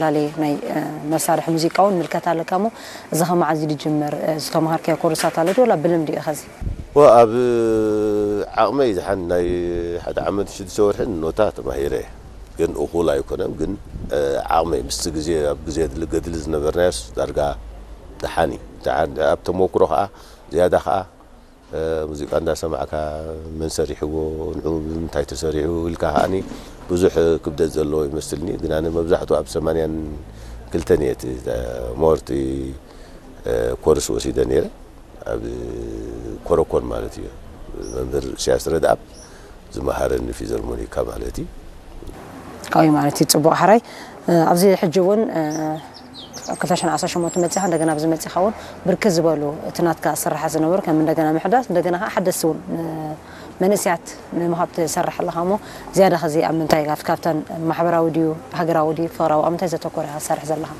ላለየ ናይ መሳርሒ ሙዚቃ እውን ምልከት ኣለካ እሞ፣ እዚ ከመዓዝ ድጅምር ዝተምሃርካዮ ኮርሳት ኣሎ ድዩ ወላ ብልምዲ እዩ ኸዚ? ኣብ ዓቕመይ ዝሓን ናይ ሓደ ዓመት ሽዱሽተ ወርሕን ኖታ ተማሂረ። ግን እኹል ኣይኮነን። ግን ዓቕመይ ምስቲ ግዜ ኣብ ግዜ ገድሊ ዝነበርናዮስ ዳርጋ ደሓን እዩ። ደሓን ኣብ ተመክሮ ከዓ ዝያዳ ከዓ ሙዚቃ እንዳሰማዕካ መን ሰሪሕዎ፣ ንዑ ብምንታይ ተሰሪሑ ኢልካ ከዓኒ ብዙሕ ክብደት ዘለዎ ይመስልኒ። ግን ኣነ መብዛሕቱ ኣብ ሰማንያን ክልተን እየ እቲ ሞርቲ ኮርስ ወሲደ ነይረ። ኣብ ኮረኮን ማለት እዩ። መምህር ኢሳያስ ረድኣብ ዝመሃረኒ ፊዘርሞኒካ ማለት እዩ። ካዊ ማለት እዩ። ጽቡቕ ሓራይ ኣብዚ ሕጂ እውን ክልተ ሽሕን ዓሰርተ ሸሞንተ መጺኻ እንደገና ኣብዚ መጺኻ እውን ብርክት ዝበሉ እቲ ናትካ ስራሓት ዝነበሩ ከም እንደገና ምሕዳስ እንደገና ከዓ ሓደስቲ እውን መንእስያት ንምሃብ ትሰርሕ ኣለኻ እሞ ዝያዳ ኸዚ ኣብ ምንታይ ካብ ካብተን ማሕበራዊ ድዩ ሃገራዊ ድዩ ፍቕራዊ ኣብ ምንታይ ዘተኮረ ኢኻ ትሰርሕ ዘለኻ?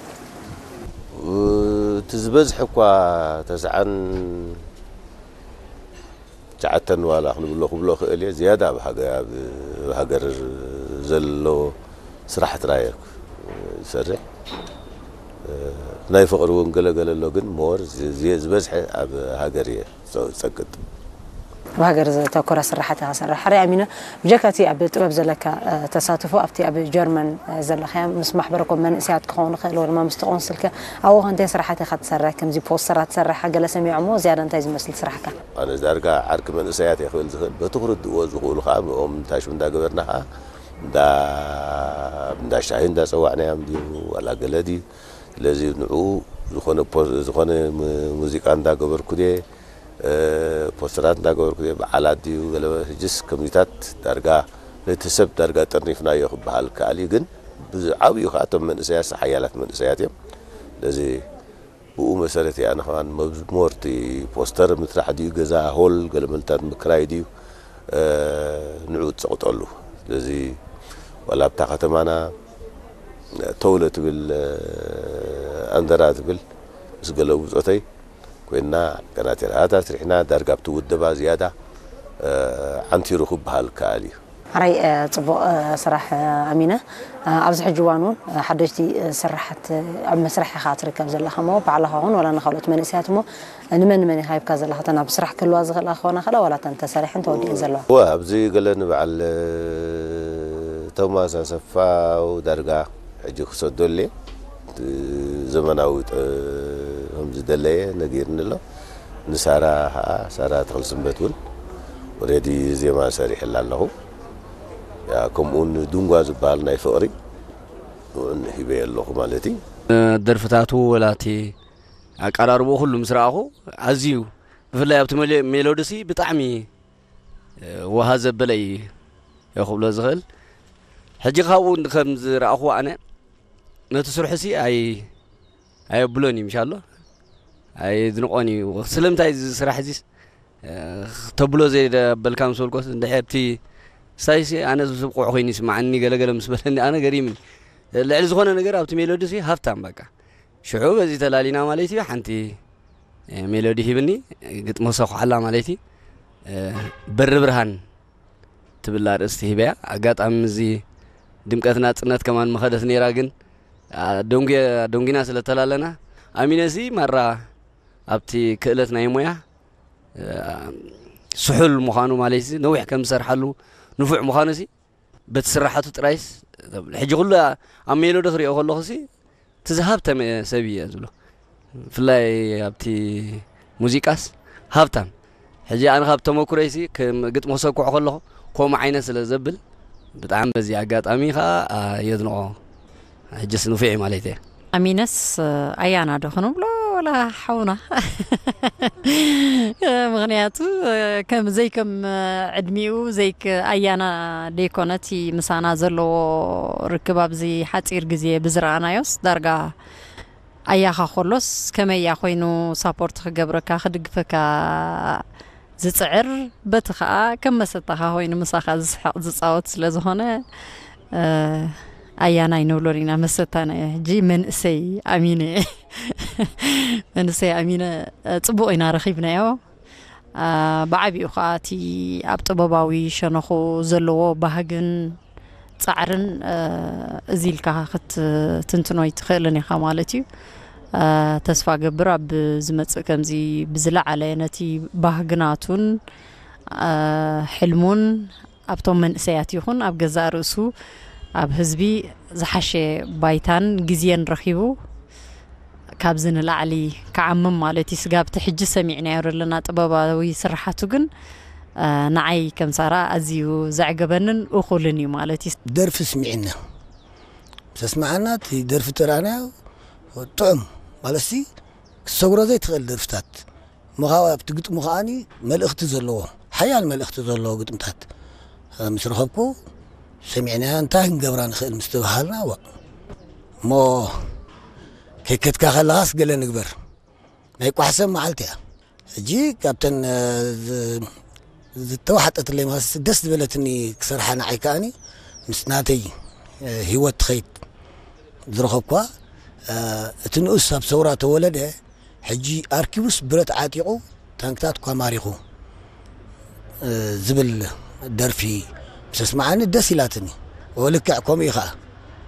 እቲ ዝበዝሐ እኳ ተስዓን ትሽዓተን ዋላ ክንብሎ ክብሎ ክእል እየ። ዝያዳ ኣብ ሃገ- ኣብ ሃገር ዘሎ ስራሕ ጥራይ እየ ዝሰርሕ። ናይ ፍቕሪ እውን ገለገለ ኣሎ፣ ግን ሞር ዝበዝሐ ኣብ ሃገር እየ ዝጸቅጥ። ኣብ ሃገር ዘተኮረ ስራሓት ኢኻ ትሰርሕ። ሓራይ ኣሚነ፣ ብጀካ እቲ ኣብ ጥበብ ዘለካ ተሳትፎ ኣብቲ ኣብ ጀርመን ዘለኻዮ ምስ ማሕበረ ኮም መንእሰያት ክኸውን ይኽእል ወይ ድማ ምስቲ ቆንስልከ ኣብኡ ከ እንታይ ስራሓት ኢኻ ትሰርሕ? ከምዚ ፖስተራት ትሰርሕ ገለ ሰሚዖ እሞ ዝያዳ እንታይ ዝመስል ስራሕካ? ኣነ ዳርጋ ዓርኪ መንእሰያት እየ ክብል ዝኽእል። በቲ ክርድእዎ ዝኽእሉ ከዓ ብኦም እንታይ ሽም እንዳገበርና ከዓ እንዳ እንዳ ሻሂ እንዳጸዋዕናዮም ድዩ ዋላ ገለ ድዩ? ስለዚ ንዕኡ ዝኾነ ፖ- ዝኾነ ም- ሙዚቃ እንዳገበርኩ ድየ ፖስተራት እንዳገበርኩ ድየ በዓላት ድዩ ገለ ሕጅስ ከምዚታት ዳርጋ ነቲ ሰብ ዳርጋ ጠርኒፍናዮ ክበሃል ከኣል እዩ። ግን ብዓብዩ ከዓ እቶም መንእሰያት ሓያላት መንእሰያት እዮም። ስለዚ ብኡ መሰረት እየ ኣነ ከማን መብዝ- ሞርቲ ፖስተር ምስራሕ ድዩ ገዛ ሆል ገለ መልታት ምክራይ ድዩ ንዑ ትጸቕጠሉ። ስለዚ ዋላ ኣብታ ከተማና ተውለ ትብል ኣንደራ ትብል ምስ ገለ ብጾተይ ኮይና ገና ቴራታት ሪሕና ዳርጋ ኣብቲ ውደባ ዝያዳ ዓንቲሩ ክበሃል ከኣል እዩ። ሓራይ ጽቡቕ ስራሕ ኣሚነ። ኣብዚ ሕጂ እዋን እውን ሓደሽቲ ስራሓት ኣብ መስርሕ ኢኻ ትርከብ ዘለኻ እሞ ባዕልኻ ኹን ዋላ ንካልኦት መንእሰያት እሞ ንመን ንመን ኢኻ ሂብካ ዘለኻ? እተን ኣብ ስራሕ ክህልዋ ዝኽእላ ክኾና ክእላ ዋላ እተን ተሰሪሐን ተወዲአን ዘለዋ? እወ ኣብዚ ገለ ንበዓል ቶማስ ኣሰፋው ዳርጋ ሕጂ ክሰዶ ኣለ ዘመናዊ ከም ዝደለየ ነጊርኒ ኣሎ። ንሳራ ከዓ ሳራ ተኽልስንበት እውን ኦሬዲ ዜማ ሰሪሐላ ኣለኹ። ከምኡውን ድንጓ ዝበሃል ናይ ፍቕሪ እውን ሂበየ ኣለኹ ማለት እዩ። ደርፍታቱ ወላ እቲ ኣቀራርቦ ኩሉ ምስ ረኣኹ ኣዝዩ ብፍላይ ኣብቲ ሜሎዲ ሲ ብጣዕሚ ወሃ ዘበለ እዩ ክብሎ ዝኽእል። ሕጂ ካብኡ ከም ዝረኣኹዎ ኣነ ነቲ ስርሑ ሲ ኣይ ኣየብሎን እዩ ምሻሎ ኣየድንቖን እዩ። ስለምንታይ እዚ ስራሕ እዚስ ተብሎ ዘየበልካ ምስ በልኮስ እንድሕር እቲ ስታይሲ ኣነ ዝብቑዕ ኮይኑ ይስማዓኒ ገለገለ ምስ በለኒ ኣነ ገሪምኒ። ልዕሊ ዝኾነ ነገር ኣብቲ ሜሎዲ ሲ ሃፍታም በቃ ሽዑ በዚ ተላሊና ማለት እዩ። ሓንቲ ሜሎዲ ሂብኒ ግጥሚ ክሰኩሓላ ማለት እዩ። በሪ ብርሃን ትብል ኣርእስቲ ሂበያ። ኣጋጣሚ እዚ ድምቀት ናጽነት ከማን ምኸደት ነይራ፣ ግን ደንጉና ስለ ተላለና ኣሚነሲ ማራ ኣብቲ ክእለት ናይ ሞያ ስሑል ምዃኑ ማለት ነዊሕ ከም ዝሰርሓሉ ንፉዕ ምዃኑ ሲ በቲ ስራሓቱ ጥራይስ ተብል። ሕጂ ኩሉ ኣብ ሜሎዲ ክሪኦ ከለኹ ሲ እቲ ዝሃብተመ ሰብ እየ ዝብሎ። ብፍላይ ኣብቲ ሙዚቃስ ሃብታም። ሕጂ ኣነ ካብ ተመኩረይሲ ከም ግጥሚ ክሰኩዕ ከለኹ ከምኡ ዓይነት ስለ ዘብል ብጣዕሚ በዚ ኣጋጣሚ ከዓ የድንቆ። ሕጅስ ንፉዕ እዩ ማለት እየ። ኣሚነስ ኣያና ዶ ክንብሎ ወላ ሓውና ምክንያቱ ከም ዘይከም ዕድሚኡ ዘይክ ኣያና ደይኮነ እቲ ምሳና ዘለዎ ርክብ ኣብዚ ሓፂር ግዜ ብዝረኣናዮስ ዳርጋ ኣያኻ ከሎስ ከመይ እያ ኮይኑ ሳፖርት ክገብረካ ክድግፈካ ዝጽዕር በቲ ኸኣ ከም መሰታኻ ኮይኑ ምሳኻ ዝስሕቕ ዝጻወት ስለ ዝኾነ ኣያናይ ንብሎን ኢና መሰታና እየ ሕጂ መንእሰይ ኣሚነ መንእሰይ ኣሚነ ጽቡቕ ኢና ረኺብናዮ ብዓቢኡ ኸኣ እቲ ኣብ ጥበባዊ ሸነኹ ዘለዎ ባህግን ጻዕርን፣ እ፣ እዚ ኢልካ ክትትንትኖ ኣይትኽእልን ኢኻ ማለት እዩ። እ፣ ተስፋ ገብር ኣብ ዝመጽእ ከምዚ ብዝለዓለ ነቲ ባህግናቱን፣ እ፣ ሕልሙን ኣብቶም መንእሰያት ይኹን ኣብ ገዛእ ርእሱ ኣብ ህዝቢ ዝሓሸ ባይታን ግዜን ረኺቡ ካብዚ ንላዕሊ ክዓምም ማለት እዩ። ስጋብ እቲ ሕጂ ሰሚዕናዮ ዘለና ጥበባዊ ስርሓቱ ግን፣ እ፣ ንዓይ ከም ሳራ ኣዝዩ ዘዕገበንን እኹልን እዩ ማለት እዩ። ደርፊ ስሚዕና፣ ምስ ኣስማዓና እቲ ደርፊ ተራእናዮ ጥዑም ማለትሲ ክትሰግሮ ዘይትኽእል ደርፍታት ምኻው ኣብቲ ግጥሙ ከዓኒ መልእኽቲ ዘለዎ ሓያል መልእኽቲ ዘለዎ ግጥምታት ምስ ረኸብኩ ሰሚዕናያ እንታይ ክንገብራ ንኽእል ምስ ተባሃልና ዋ እሞ ከይከድካ ከለኻስ ገለ ንግበር ናይ ቋሕሰብ መዓልቲ እያ ሕጂ ካብተን ዝተዋሓጠትለይ ማለት ደስ ዝበለትኒ ክሰርሓ ንዓይ ከዓኒ ምስ ናተይ ህይወት ትኸይድ ዝረኸብኳ እቲ ንኡስ ኣብ ሰውራ ተወለደ ሕጂ ኣርኪቡስ ብረት ዓጢቑ ታንክታት እኳ ማሪኹ ዝብል ደርፊ ምስ ኣስምዓኒ ደስ ኢላትኒ። ልክዕ ከምኡ እዩ ከዓ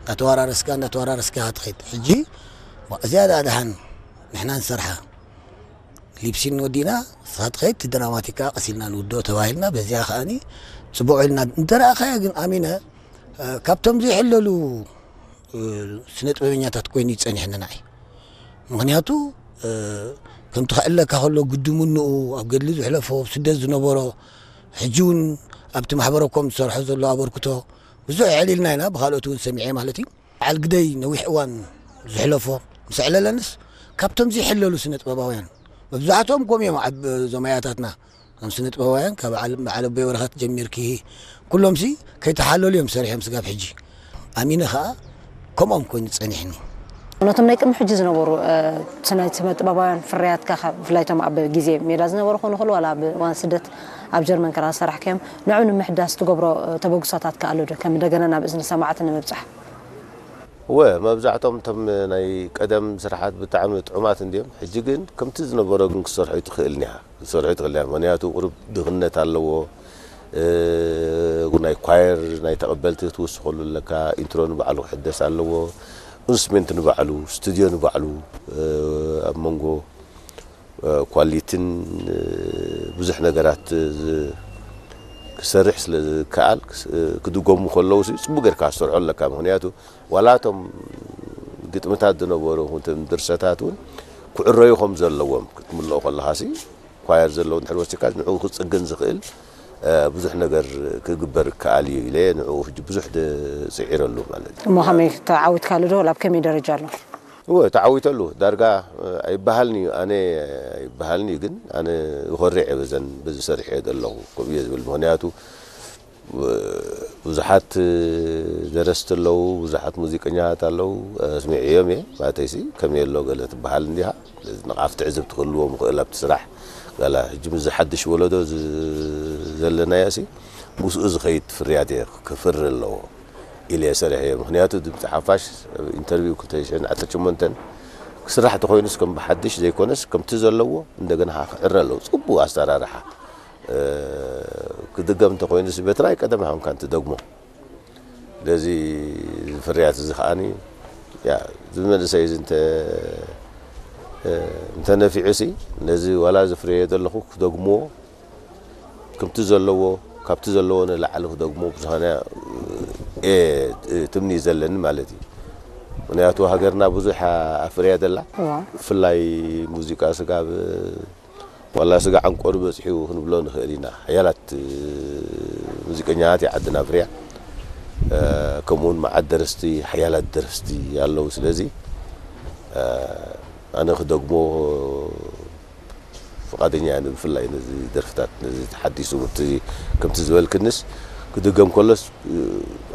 እንዳተወራረስካ እንዳተወራረስካ ኢኻ ትኸይድ። ሕጂ እዚኣ ደኣ ደሓን ንሕና ንሰርሓ ሊፕሲን ወዲእና ንስኻ ትኸይድ እቲ ድራማቲክ ከዓ ቀስ ኢልና ንውድኦ ተባሂልና በዚኣ ከዓኒ ፅቡቕ ኢልና እንተረኣኻያ ግን ኣሚነ ካብቶም ዘይሕለሉ ስነ ጥበበኛታት ኮይኑ እዩ ጸኒሕኒ ንዓይ። ምኽንያቱ ከምቲ ክዕለካ ከሎ ግድምንኡ ኣብ ገድሊ ዝሕለፎ ኣብ ስደት ዝነበሮ ሕጂ እውን ኣብቲ ማሕበረ ኮም ዝሰርሖ ዘሎ ኣበርክቶ ብዙሕ ኣዕሊልና ኢና ብኻልኦት እውን ሰሚዐ ማለት እዩ። በዓል ግደይ ነዊሕ እዋን ዝሕለፎ ምስ ኣዕለለንስ ካብቶም ዘይሕለሉ ስነ ጥበባውያን መብዛሕትኦም ኮም እዮም እዞም ኣያታትና እዞም ስነ ጥበባውያን ካብ በዓል ኣቦይ ወረኸት ጀሚርኪ ኩሎምሲ ከይተሓለሉ እዮም ሰሪሖም ስጋብ ሕጂ ኣሚነ ከዓ ከምኦም ኮይኑ ፀኒሕኒ። ነቶም ናይ ቅድሚ ሕጂ ዝነበሩ ስነ ጥበባውያን ፍርያትካ ብፍላይ እቶም ኣብ ግዜ ሜዳ ዝነበሩ ክኾኑ ይኽእሉ ዋላ ኣብ እዋን ስደት ኣብ ጀርመን ከኣ ዝሰራሕካዮም ንዕኡ ንምሕዳስ ትገብሮ ተበግሶታት ከ ኣሎ ዶ ከም እንደገና ናብ እዝኒ ሰማዕቲ ንምብጻሕ? እወ መብዛሕቶም እቶም ናይ ቀደም ስርሓት ብጣዕሚ ጥዑማት እንድዮም ሕጂ ግን ከምቲ ዝነበሮ ግን ክትሰርሖ ኣይትኽእልን ኢኻ ክትሰርሖ ኣይትኽእልን ኢኻ ምኽንያቱ ቁሩብ ድኽነት ኣለዎ ናይ ኳየር ናይ ተቐበልቲ ክትውስኸሉ ኣለካ ኢንትሮ ንባዕሉ ክሕደስ ኣለዎ ኢንስትሩሜንት ንባዕሉ ስቱድዮ ንባዕሉ ኣብ መንጎ ኳሊትን ብዙሕ ነገራት ክሰርሕ ስለ ዝከኣል ክድገሙ ከለዉ ጽቡቅ ጌርካ ክትሰርሖ ኣለካ ምክንያቱ ዋላ እቶም ግጥምታት ዝነበሩ ድርሰታት እውን ክዕረዩ ከም ዘለዎም ክትምልኦ ከለካ ኳየር ዘለዉ እንድሕር ወሲካ ንዕኡ ክፅግን ዝኽእል ብዙሕ ነገር ክግበር ይከኣል እዩ ኢለ ንዕኡ ሕጂ ብዙሕ ስዒረሉ ማለት እዩ። እሞ ከመይ ተዓዊትካሉ ዶ? ኣብ ከመይ ደረጃ ኣሎ? እወ ተዓዊተሉ ዳርጋ ኣይበሃልን እዩ ኣነ ኣይበሃልን እዩ ግን ኣነ ይኾርዕ እየ በዘን በዚ ሰሪሐ ዘለኹ ከምኡ እየ ዝብል ምኽንያቱ ብዙሓት ደረስቲ ኣለዉ ብዙሓት ሙዚቀኛታት ኣለዉ ኣስሚዐዮም እየ ማለተይሲ ከመይ ኣሎ ገለ ትበሃል እንዲኻ ስለዚ ንቓፍ ትዕዝብ ትኽእልዎም ይኽእል ኣብቲ ስራሕ ጋላ ሕጂ ምስ ዝሓድሽ ወለዶ ዘለናዮ ሲ ምስኡ ዝኸይድ ፍርያት እየ ክፍሪ ኣለዎ ኢለ እየ ሰሪሐዮ። ምኽንያቱ ድምፂ ሓፋሽ ኣብ ኢንተርቪው ክልተ ሽሕን ዓሰርተ ሸሞንተን ክስራሕ ተኾይኑስ ከም ብሓድሽ ዘይኮነስ ከምቲ ዘለዎ እንደገና ከዓ ክዕረ ኣለዎ። ፅቡቕ ኣሰራርሓ ክድገም እንተኾይኑስ በቲ ናይ ቀደም ኣይኮንካን ትደግሞ። ስለዚ እዚ ፍርያት እዚ ከዓኒ ያ እዚ መንእሰይ እዚ እንተ እንተነፊዑሲ ነዚ ዋላ ዘፍረዮ ዘለኹ ክደግምዎ ከምቲ ዘለዎ ካብቲ ዘለዎ ንላዕሊ ክደግሞ ብዝኾነ እየ ትምኒ ዘለኒ ማለት እዩ። ምክንያቱ ሃገርና ብዙሕ ኣፍርያ ዘላ ብፍላይ ሙዚቃ ስጋብ ዋላ ስጋ ዓንቆሩ በፂሑ ክንብሎ ንኽእል ኢና። ሓያላት ሙዚቀኛታት እያ ዓድና ኣፍርያ። ከምኡውን መዓት ደረስቲ ሓያላት ደረስቲ ኣለዉ። ስለዚ ኣነ ክደግሞ ፍቓደኛ እየ ብፍላይ ነዚ ደርፍታት ነዚ ተሓዲሱ እቲ ከምቲ ዝበልክንስ ክድገም ከሎስ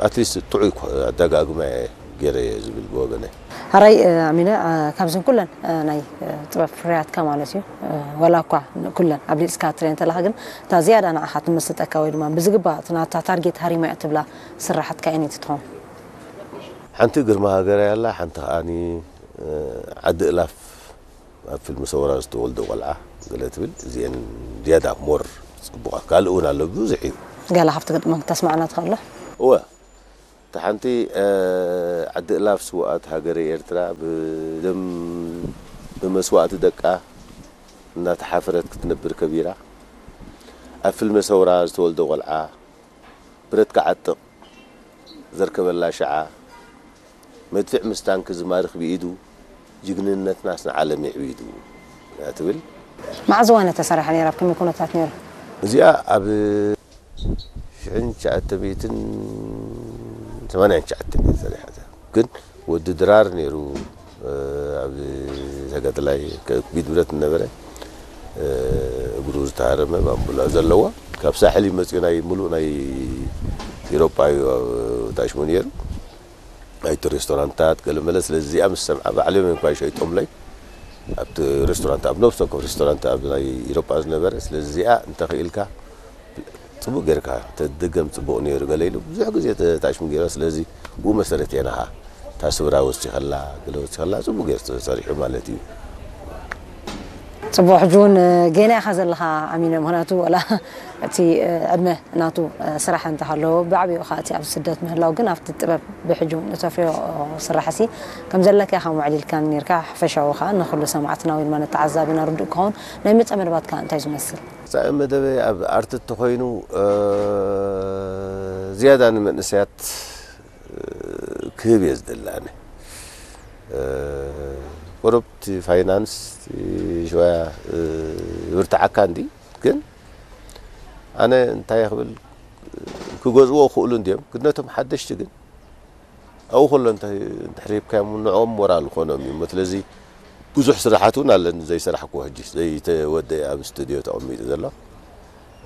ኣትሊስት ጥዑይ ኣደጋግማ እየ ገይረ እየ ዝብል ብወገነ። ሕራይ ኣሚነ ካብዝን ኩለን ናይ ጥበብ ፍርያትካ ማለት እዩ ዋላ እኳ ኩለን ኣብሊፅካ ትሪኤን እንተለኻ ግን እታ ዝያዳ ንዓኻ ትምስጠካ ወይ ድማ ብዝግባእ እቲ ናታ ታርጌት ሃሪማያ ትብላ ስራሓትካ ኣየነይቲ ትኸውን? ሓንቲ ግርማ ሃገረይ ኣላ ሓንቲ ከዓኒ ዓዲ እላፍ ኣብ ፊልም ሰውራ ዝተወልደ ቆልዓ ገለ ትብል እዚአን ዝያዳ ሞር ፅቡቓት ካልእ እውን ኣሎ ብዙሕ እዩ። ገለ ካብቲ ግጥመን ክተስማዕና ትኽእል ዶ? እወ እታ ሓንቲ ዓዲ እላፍ ስውኣት ሃገረ ኤርትራ ብደም ብመስዋእቲ ደቃ እናተሓፈረት ክትነብር ከቢራ፣ ኣብ ፍልመ ሰውራ ዝተወልደ ቆልዓ ብረት ክዓጥቕ ዘርከበላ ሽዓ፣ መድፍዕ ምስ ታንክ ዝማርኽ ብኢዱ፣ ጅግንነትናስ ንዓለም የዕቢዱ እያ ትብል። መዓዝ እዋን እያ ተሰሪሓ ነይራ? ኣብ ከመይ ኩነታት ነይሩ? እዚኣ ኣብ ሽሕን ትሽዓተ ሚእትን ሰማንያን ትሽዓተን እያ ተሰሪሓ። ግን ወዲ ድራር ነይሩ፣ ኣብ ተጋዳላይ ከቢድ ብረት ነበረ፣ እግሩ ዝተሃረመ ባምቡላ ዘለዎ፣ ካብ ሳሕል እዩ መፅኡ። ናይ ሙሉእ ናይ ኢሮጳ እዩ ኣብ ታሽሙ ነይሩ። ኣይቱ ሬስቶራንታት ገለ መለ። ስለዚ እዚኣ ምስ ሰምዓ፣ ባዕሎም እዮም እኳ ይሸይጦምለይ ኣብቲ ሬስቶራንት፣ ኣብ ነብሲ ወከፍ ሬስቶራንት ኣብ ናይ ኢሮጳ ዝነበረ። ስለዚ እዚኣ እንተኽኢልካ ጽቡቕ ጌርካ ተደገም ጽቡቕ ነይሩ ገለ ኢሉ ብዙሕ ግዜ ተታሽሙ ገይራ። ስለዚ ብኡ መሰረት እየ ንኻ እታ ስብራ ወሲኸላ፣ ገለ ወሲኸላ፣ ጽቡቕ ጌሩ ተሰሪሑ ማለት እዩ። ጽቡቕ። ሕጂ እውን ጌና ኢኻ ዘለኻ ኣሚነ፣ ምኽንያቱ ወላ እቲ ዕድመ ናቱ ስራሕ እንተሃለዎ፣ ብዓቢኡ ኸኣ እቲ ኣብ ስደት ምህላው ግን ኣብቲ ጥበብ ብሕጂ እውን እተፍርዮ ስራሕሲ ከም ዘለካ ኢኻ ኣማዕሊልካ ነይርካ። ሓፈሻዊ ኸኣ ንኹሉ ሰማዕትና ወይ ድማ ንተዓዛቢና ርዱእ ክኸውን፣ ናይ መጻኢ መደባትካ እንታይ ዝመስል? መጻኢ መደበይ ኣብ ኣርቲ እንተኾይኑ፣ እ፣ ዝያዳ ንመንእሰያት፣ እ፣ ክህብ እየ ዝደሊ ኣነ። እ፣ ቁሩብ እቲ ፋይናንስ፣ እቲ ሽወያ፣ እ፣ ይብርትዓካ እንዲ፣ ግን ኣነ እንታይ ክብል፣ ክገዝእዎ ክኽእሉ እንድዮም፣ ግን ነቶም ሓደሽቲ ግን ኣብኡ ከሎ እንተ-፣ እንድሕር ሂብካዮም ንዕኦም ሞራል ክኾኖም እዩ እሞ። ስለዚ ብዙሕ ስራሓት እውን ኣለኒ ዘይሰራሕክዎ፣ ሕጂ ዘይተወደአ ኣብ ስቱድዮ ተቐሚጡ ዘሎ።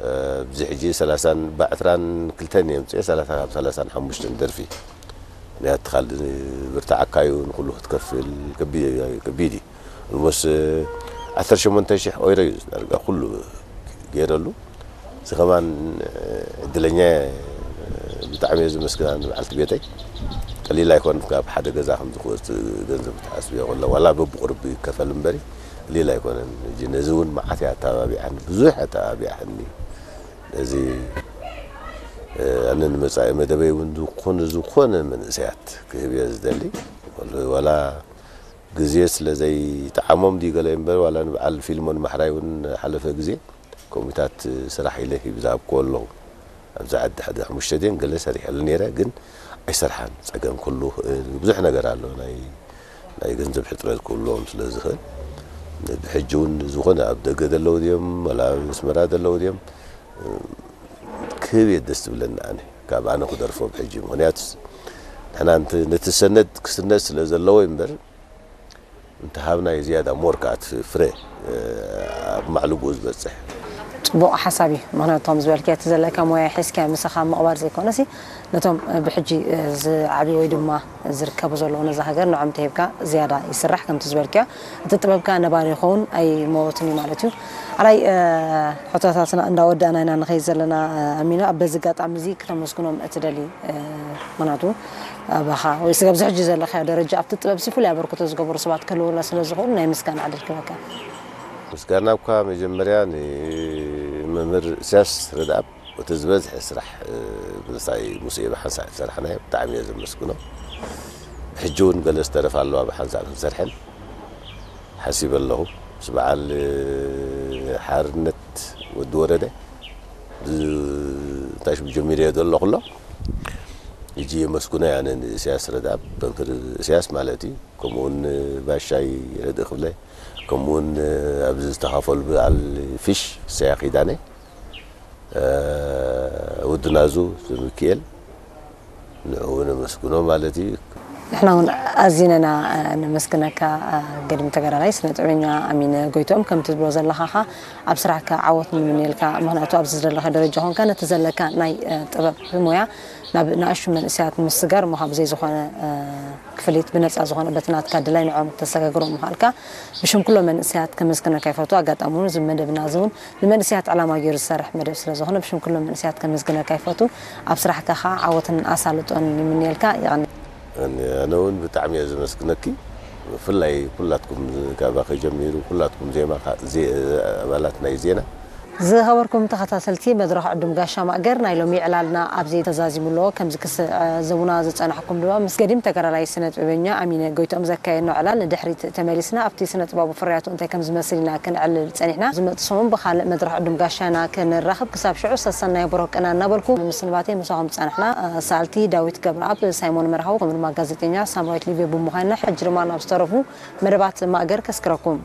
እ፣ ኣብዚ ሕጂ ሰላሳን፣ ብዕስራን ክልተን እየ ኣምፅኤ፣ ሰላሳ ካብ ሰላሳን ሓሙሽተን ደርፊ። ምኽንያቱ ካልእ ብርትዓካ እዩ፣ ንኹሉ ክትከፍል ከቢ-፣ ከቢድ እዩ። ኦልሞስት ዓሰርተ ሸሞንተ ሽሕ ኦይሮ እዩ ዳርጋ ኩሉ ገይረሉ። እዚ ከማን ዕድለኛ እየ፣ ብጣዕሚ እየ ዘመስግና ንበዓልቲ ቤተይ። ቀሊል ኣይኮን፣ ካብ ሓደ ገዛ ከምዚ ክወፅእ ገንዘብ ትሓስብዮ ከሎ፣ ዋላ በብቁሩብ ይከፈል እምበሪ ቀሊል ኣይኮነን። ሕጂ ነዚ እውን መዓት እያ ኣተባቢዓኒ፣ ብዙሕ ኣተባቢዓኒ። ነዚ፣ እ፣ ኣነ ንመጻኢ መደበይ እውን ዝኾነ፣ ዝኾነ መንእሰያት ክህብ እየ ዝደሊ። ዋላ ግዜ ስለ ዘይጠዓሞም ድዩ ገለ እምበር፣ ዋላ ንበዓል ፊልሞን ማሕራይ እውን ሓለፈ ግዜ ከምኡታት ስራሕ ኢለ ሂብ ዝሃብክዎ ኣለኹ። ኣብዚ ዓዲ ሓደ ሓሙሽተ ድየን ገለ ሰሪሐሉ ነይረ፣ ግን ኣይሰርሓን። ጸገም ክህሉ ይኽእል፣ ብዙሕ ነገር ኣሎ። ናይ፣ ናይ ገንዘብ ሕጽረት ክህልዎም ስለ ዝኽእል፣ ብሕጂ እውን ዝኾነ ኣብ ደገ ዘለዉ ድዮም፣ ወላ ኣብ ኣስመራ ዘለዉ ድዮም፣ ክህብ እየ ደስ ዝብለኒ ኣነ። ካብ ኣነ ክደርፎ ብሕጂ። ምኽንያቱስ ንሕና እንተ-፣ ነቲ ሰነድ ክስነድ ስለ ዘለዎ እምበር፣ እንተሃብናዮ ዝያዳ ሞር ከኣ እቲ ፍረ፣ እ፣ ኣብ ማዕልብኡ ዝበጽሕ። ጽቡቕ ሓሳብ እዩ። ምኽንያቱ፣ ከም ዝበልክዮ፣ እቲ ዘለካ ሞያ ሒዝካ ምሳኻ ምቕባር ዘይኮነሲ፣ ነቶም፣ እ፣ ብሕጂ፣ እ፣ ዝዓብዩ ወይ ድማ ዝርከቡ ዘለዉ ነዛ ሃገር ንዖም ተሂብካ ዝያዳ ይስራሕ። ከምቲ ዝበልክዮ፣ እቲ ጥበብካ ነባሪ ይኸውን ኣይመወትን እዩ ማለት እዩ። ሓራይ፣ እ፣ ሕቶታትና እንዳወዳእና ኢና ንኸይድ ዘለና፣ እ፣ ኣሚና፣ ኣብ በዚ ኣጋጣሚ እዚ ክተመስግኖም እትደሊ፣ እ፣ ምኽንያቱ ኣባኻ ወይ ስጋብ ዝሕጂ ዘለኻዮ ደረጃ ኣብቲ ጥበብ ሲ ፍሉይ ኣበርክቶ ዝገበሩ ሰባት ክህልውና ስለ ዝኽእሉ ናይ ምስጋና ዕድል ክበካ። ምስጋና እኳ መጀመርያ ንመምህር እስያስ ረድኣብ፣ እቲ ዝበዝሐ ስራሕ፣ እ፣ ምሳይ ሙሴ ብሓንሳእ ዝሰራሕናዮ ብጣዕሚ እየ ዘመስግኖ። ሕጂ እውን ገለ ዝተረፋ ኣለዋ ብሓንሳእ ክንሰርሐን ሓሲበ ኣለኹ። ምስ በዓል፣ እ፣ ሓርነት ወዲ ወረደ ብ-፣ እንታይ ሽሙ ጀሚረዮ ዘለኹ ኣሎ። ሕጂ የመስግኖ እየ ኣነ ንእስያስ ረድኣብ፣ መምህር እስያስ ማለት እዩ። ከምኡ እውን ባሻይ ረድእ ክብለ፣ ከምኡ እውን ኣብዚ ዝተኻፈሉ በዓል ፊሽ ሰያ ኪዳነ፣ እ፣ ወዲ ናዙ ሚኪኤል፣ ንዕኡ እውን ነመስግኖ ማለት እዩ። ንሕና እውን ኣዚና ኢና፣ እ፣ ነመስግነካ፣ እ፣ ገዲም ተጋዳላይ ስነ ጥበበኛ ኣሚነ ጎይትኦም። ከምቲ ትብሎ ዘለኻ ኸኣ ኣብ ስራሕካ ዓወት ንምንየልካ። ምኽንያቱ ኣብዚ ዘለኻ ደረጃ ኾንካ ነቲ ዘለካ ናይ፣ እ፣ ጥበብ ሞያ ናብ ንኣሽቱ መንእሰያት ምስጋር እሞ ካብ ብዘይ ዝኾነ፣ እ፣ ክፍሊት ብነጻ ዝኾነ በቲ ናትካ ድላይ ንዕኦም ክተሰጋግሮም ምኽኣልካ ብሽም ኩሎም መንእሰያት ከመስግነካ ይፈቱ። ኣጋጣሚ እውን እዚ መደብና እዚ እውን ንመንእሰያት ዕላማ ገይሩ ዝሰርሕ መደብ ስለ ዝኾነ ብሽም ኩሎም መንእሰያት ከመስግነካ ይፈቱ። ኣብ ስራሕካ ኸኣ ዓወትን ኣሳልጦን ይምንየልካ። የቐኒ። ኣነ እውን ብጣዕሚ እየ ዘመስግነኪ። ብፍላይ ኩላትኩም ካባኺ ጀሚሩ ኩላትኩም ዜማ ካ-፣ ዜ-፣ ኣባላት ናይ ዜና ዝኸበርኩም ተኸታተልቲ መድረኽ ዕዱም ጋሻ ማእገር፣ ናይ ሎሚ ዕላልና ኣብዚ ተዛዚሙ ኣሎ። ከምዚ ክስዕዝሙና ዝጸናሕኩም ድማ ምስ ገዲም ተጋዳላይ ስነ ጥበበኛ ኣሚነ ጎይትኦም ዘካየድና ዕላል ንድሕሪት ተመሊስና ኣብቲ ስነ ጥበባዊ ፍርያቱ እንታይ ከም ዝመስል ኢና ክንዕልል ጸኒሕና። ዝመጽእ ሰሙን ብኻልእ መድረኽ ዕዱም ጋሻና ክንራኸብ፣ ክሳብ ሽዑ ሰሰናይ ብሩኽ ቅና እናበልኩ፣ ምስንባተይ ምሳኹም ዝጸናሕና ሰኣልቲ ዳዊት ገብረኣብ፣ ሳይሞን መርሃዊ፣ ከምኡ ድማ ጋዜጠኛ ሳምራዊት ሊብዮ ብምዃንና፣ ሕጂ ድማ ናብ ዝተረፉ መደባት ማእገር ከስክረኩም።